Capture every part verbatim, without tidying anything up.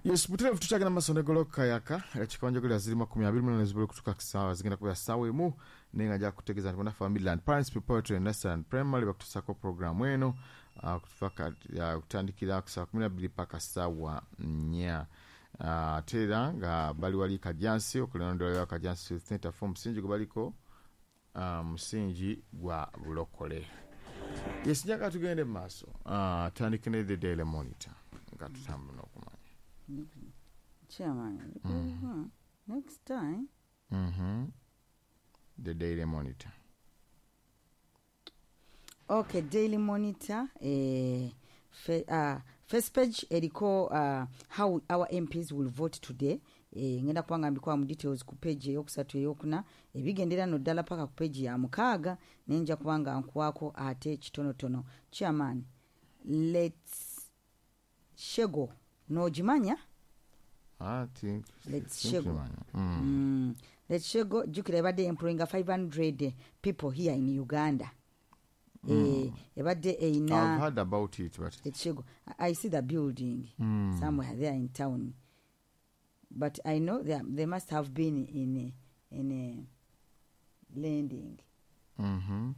Yes, butereevu tukyagenda maaso ne Golokoka Yaka. Ekikonjogera ziri makumi abiri mu zibula okutuuka ku ssaawa, zigenda kubeera ssaawa emu, naye nga nja kutegeeza nti bannaffe Midland Parents Preparatory Nursery and Primary bakutuusaako programu eno ah, okutuuka kati- ah, okutandikira ku ssaawa kumi na bbiri paka ssaawa nnya. Ah, ate era nga bali wali Kajansi okulondolera Kajansi Youth Center for omusingi gwe baliko, ah, musingi gwa bulokole. Yes, njagala tugende mu maaso. Ah, tandike ne The Daily Monitor nga tutambula n'okumanya. Chairman, mm. next time. Mhm. The Daily Monitor. Okay, Daily Monitor, eh, fe, uh, first page eriko uh, how our M Ps will vote today. eh, ngenda kuba nga mbikuwa mu details ku page eyokusatu, eyokuna, ebigendera no ddala paka ku page ya mukaaga, naye nja kuba nga nkuwaako ate kitonotono. Chairman, Letshego n'ogimanya? Ah, think- Letshego. Sinkimanya. Mm. Mm. Letshego, jjukira ebadde employinga five hundred people here in Uganda. Eh, ebadde eyina I've heard about it, but Letshego. I I see the building Mm. somewhere there in town, but I know they, they must have been in a, in a lending. Mhm.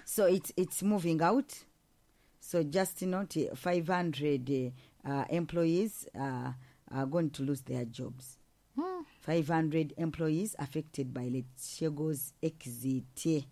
So it's it's moving out. So just note five hundred uh, employees uh, are going to lose their jobs. five hundred employees affected by Letshego's exit.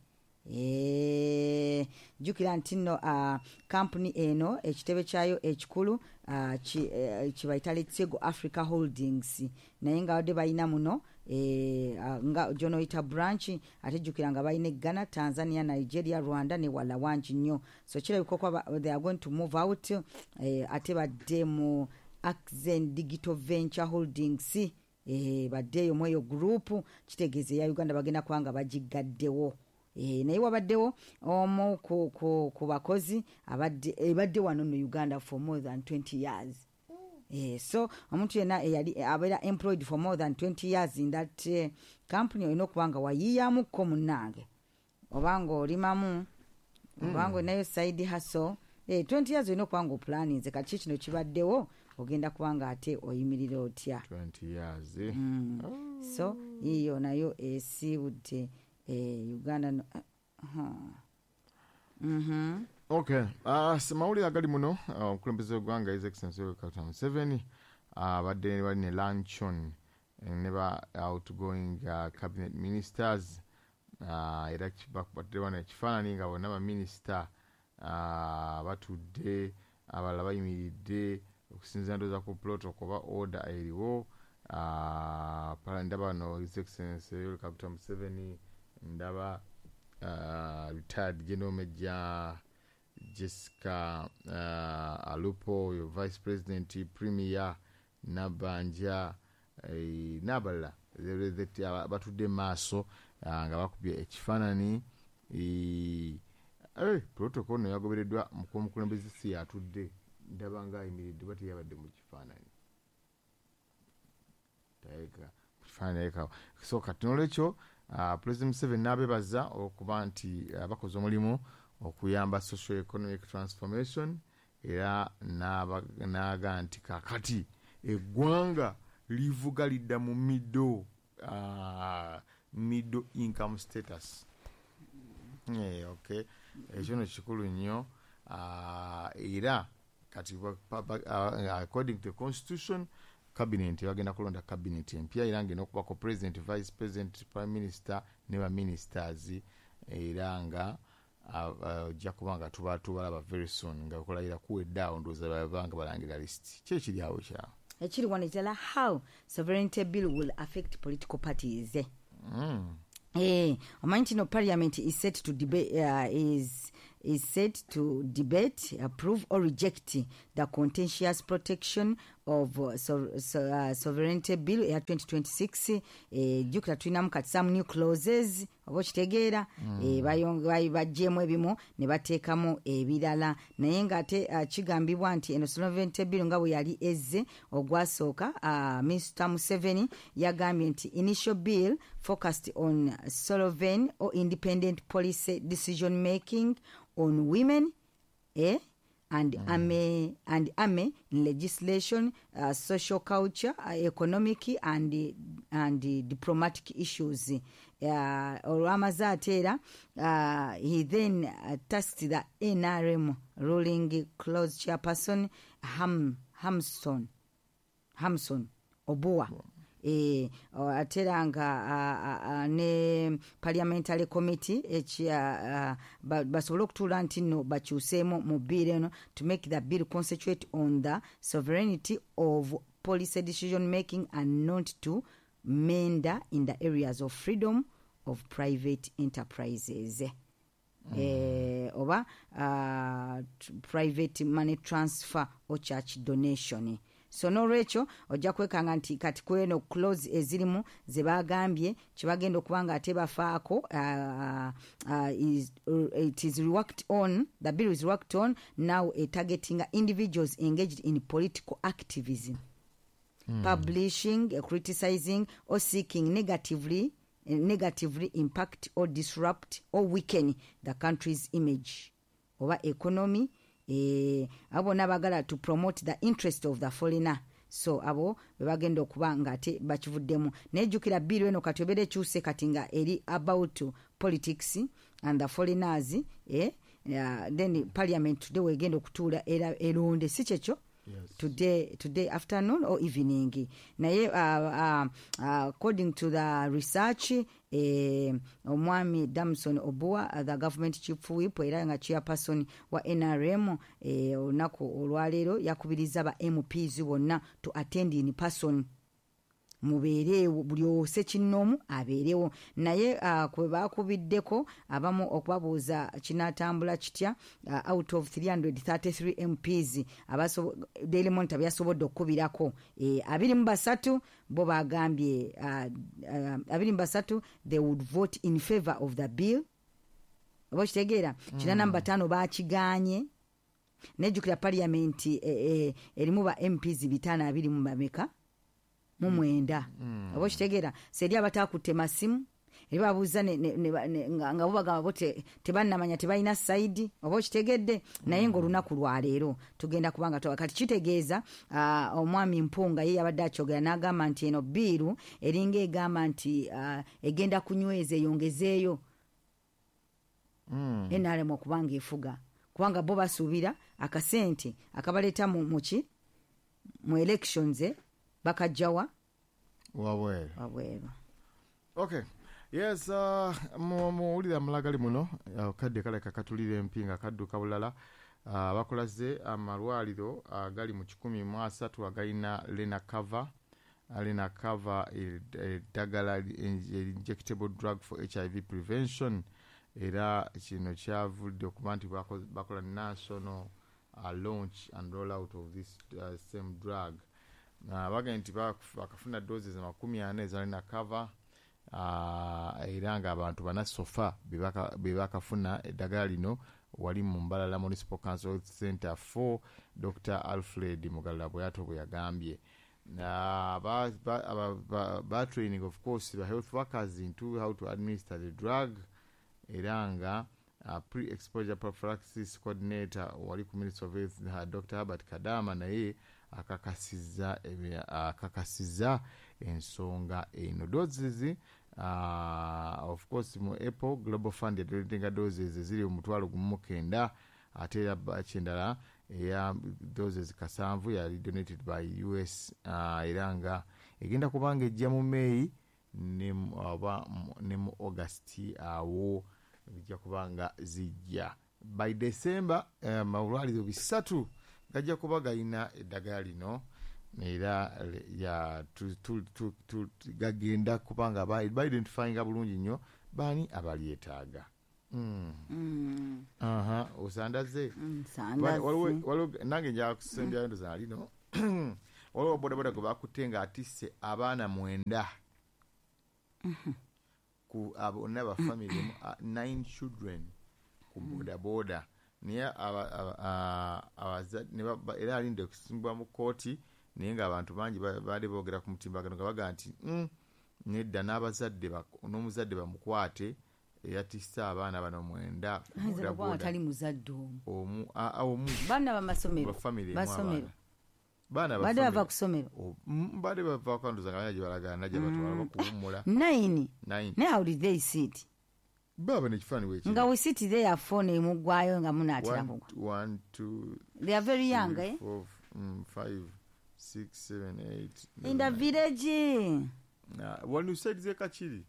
Eh, jjukira nti nno uh, kampuni eno ekitebe kyayo ekikulu uh, ki, eh, kibayita Letshego Africa Holdings, naye nga badde balina muno eh, uh, nga gyonoyita branch, ate jjukira nga balina e Ghana, Tanzania, Nigeria, Rwanda ne wala wangi nnyo. So kirabika okuba they are going to move out, eh, ate badde mu Axen Digital Venture Holdings, eh, baddeeyo mu eyo group, kitegeeza eya Uganda bagenda kuba nga bagigaddewo. Eh, naye wabaddewo omu ku, ku, ku bakozi abadde ebadde wano no Uganda for more than twenty years. Eh, so omuntu yenna eyali abeera employed for more than twenty years in that uh, company, olina okuba nga wayiiyamukko munnange, oba nga olimamu, oba nga olinayo side hustle. Eh, twenty years olina okuba nga oplaninze. Kati ki kino kibaddewo, ogenda kuba nga ate oyimirira otya? twenty years, eh? Mm. So yiyo nayo esiibudde eh, Uganda no, uh, huh. mm Okay, uh, mawulire agali muno, uh, omukulembeze w'eggwanga His Excellency Yoweri Kaguta Museveni abadde uh, bali ne luncheon eh, ne ba outgoing uh, cabinet ministers, uh, era batudde wano ekifaananyi nga bonna baminisita uh, batudde, abalala bayimiridde okusinziira ndowooza ku protocol oba order eriwo. uh, ndaba no His Excellency Yoweri Kaguta Museveni, ndaba uh, retired General Major Jessica uh, Alupo, oyo Vice President, Premier Nabanja, eh, n'abalala batudde maaso uh, nga bakubye ekifaananyi. eh, protocol no yagobereddwa omukulembeze, si yatudde, ndaba nga ayimiridde, ba teyabadde mu kifaananyi. Kifaananyi. So kati nolwekyo uh, President Museveni n'abebaza okuba nti uh, bakoze omulimu okuyamba social economic transformation, era n'aga nti kakati eggwanga livuga lidda mu middle uh, middle income status. Yeah, okay, ekyo no kikulu nnyo. uh, era kati uh, according to the constitution, cabinet bagenda kulonda cabinet empya, era ngenda okubako president, vice president, prime minister ne ba ministers, era nga ojja kuba nga tuba tubalaba very soon nga okulayira kuwedde awo, ndowooza babanga balangira list. Ki ekiri awo kyawo? Ekiri wano ekirala, how sovereignty bill will affect political parties. mm. Eh, omanyi nti no parliament is set to debate, uh, is is set to debate, approve or reject the contentious Protection of uh, so, so, uh, Sovereignty Bill eya twenty twenty-six. eh, jjukira tulinamu kati some new clauses, oba okitegeera? mm. eh, baggyemu ebimu ne bateekamu ebirala, naye ng'ate uh, kigambibwa nti eno sovereignty bill nga bwe yali ezze ogwasooka, uh, Mister Museveni yagambye nti initial bill focused on sovereign or independent policy decision making on women, eh, and mm. army and army in legislation, uh, social culture, uh, economic and and uh, diplomatic issues. Uh, olwamaze ate era uh, he then uh, tasked the N R M ruling caucus chairperson Ham, Hamson Hamson Obua, e, ate era nga ne parliamentary committee ekya basobole okutuula nti nno bakyuseemu mu bill eno to make the bill concentrate on the sovereignty of policy decision making and not to meander in the areas of freedom of private enterprises mm. eh, oba uh, private money transfer or church donation. So nolwekyo ojja kwekanga nti kati kweno clause ezirimu ze bagambye kyebagenda okuba nga ate bafaako, uh, uh, is, uh, it is worked on, the bill is worked on now, uh, targeting individuals engaged in political activism, mm. publishing, uh, criticizing or seeking negatively uh, negatively impact or disrupt or weaken the country's image oba economy. eh, abo bonna bagala to promote the interest of the foreigner. So abo bebagenda okuba nga ate bakivuddemu. Naye jjukira bill eno kati obeera ekyuse kati nga eri about politics and the foreigners, eh, uh, then parliament today wegenda okutuula era eronde, si kyekyo? Yes. today today afternoon or evening. Naye uh, uh, uh, according to the research, eh, omwami Damson Obua, uh, the government chief whip era nga chairperson wa N R M, eh, olunaku olwaleero yakubiriza ba M Ps bonna to attend in person, mubeereewo, buli ose kinnoomu abeerewo. Naye uh, kwe bakubiddeko abamu okubabuuza kinaatambula kitya, uh, out of three hundred thirty-three M Ps abaso- Daily Monitor byasobodde okukubirako, eh, abiri mu basatu bo bagambye, uh, uh, abiri mu basatu, they would vote in favor of the bill, oba okitegeera, kinaana mu bataano bakiganye. Nejjukira parliament eh, eh, erimu ba M Ps bitaano abiri mu bameka mu mwenda, oba okitegeera. So eri abatakutte masimu, eri babuuza ne- ne- ne- ne- nga nga bo bagamba bo te- tebannamanya, tebalina side, oba okitegedde. Naye ngaolunaku lwaleero tugenda kubanga twa- kati kitegeeza, ah, omwami Mpunga ye yabadde akyogera n'agamba nti eno bill eringa egamba nti ah, egenda kunyweza eyongezeeyo Mm. N R M okubanga efuga, kubanga bo basuubira akasente akabaleeta mu muki mu elections, eh, bakajjawa? Wabweru. Wabweru. Okay, yes, uh, mu- muwulire amalagali muno, uh, kadde kaleka katulira empi nga kadduka bulala. uh, bakulaze amalwaliro agali mu kikumi mu asatu agalina Lenacapavir. Lenacapavir eddagala injectable drug for H I V prevention, era kino kyavudde okuba nti bako- bakola national uh, launch and roll out of this uh, same drug. uh, bagambye nti bak- bakafuna doses makumi ana eza Lenacapavir, uh, era ng'abantu bana so far be bakafuna eddagala lino wali mu Mbalala Municipal Council Health Center four, Doctor Alfred Mugalula bweyato bwe yagambye. Uh, ba, ba, ba, ba, ba training of course the health workers into how to administer the drug, era nga uh, pre-exposure prophylaxis coordinator wali ku Ministry of Health, uh, Doctor Herbert Kadama, naye akakasizza ebe- akakasizza ensonga eno. Doses, uh, of course, mu April Global Fund yadonatinga doses eziri omutwalo gumu mu kenda, ate era batch endala eya doses kasanvu yali donated by U S, uh, era nga egenda kubanga ejja mu May ne mu- oba mu- ne mu August awo bijja kubanga zijja. By December amalwaliro bisatu gajja kuba galina eddagala lino, era le- ya tu- tu- tu- tu- gagenda kubanga ba identifyinga bulungi nnyo baani abalyetaaga. Mm. Mm. Aha, osandaze. Nsandaze. Waliwo waliwo- nange nja kusembyayo ndoza lino. Waliwo bodaboda gwe bakutte nga atisse abaana mwenda ku bonna ba family emu, uh, nine children ku bodaboda, naye aba- aba- a- abazadde ne ba- era alinde okusimbwa mu kooti. Naye ng'abantu bangi ba- baali boogera ku mutimbagano nga bagamba nti, "Mm, nedda, n'abazadde bak- n'omuzadde bamukwate." Eyatisse abaana bano mwenda ku Ayinza boda nokuba nga boda. tali muzadde omu. Omu, a- a- omu. Baana bamasomero. Ba family emu. Basomero. Abaana baana ba Badde bava family. ku ssomero. O- mm, badde bava kanduza nga gye balagana gye batwala bakuwummula. Nine. Nine. Naye how did they sit? Baba nekifaananyi wekiri. Nga we sit there, phone emuggwayo nga munaatera One, kugwa. one, two, They are very young, three, eh? four, mm, five, six, seven, eight, In the nine. village. Uh, wano side z'e Kakiri.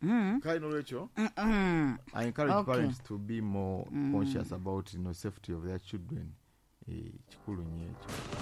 Mm. Kale nolwekyo Mm-mm. I encourage Okay. parents to be more conscious about you know, safety of their children. Eh, kikulu nnyo ekyo.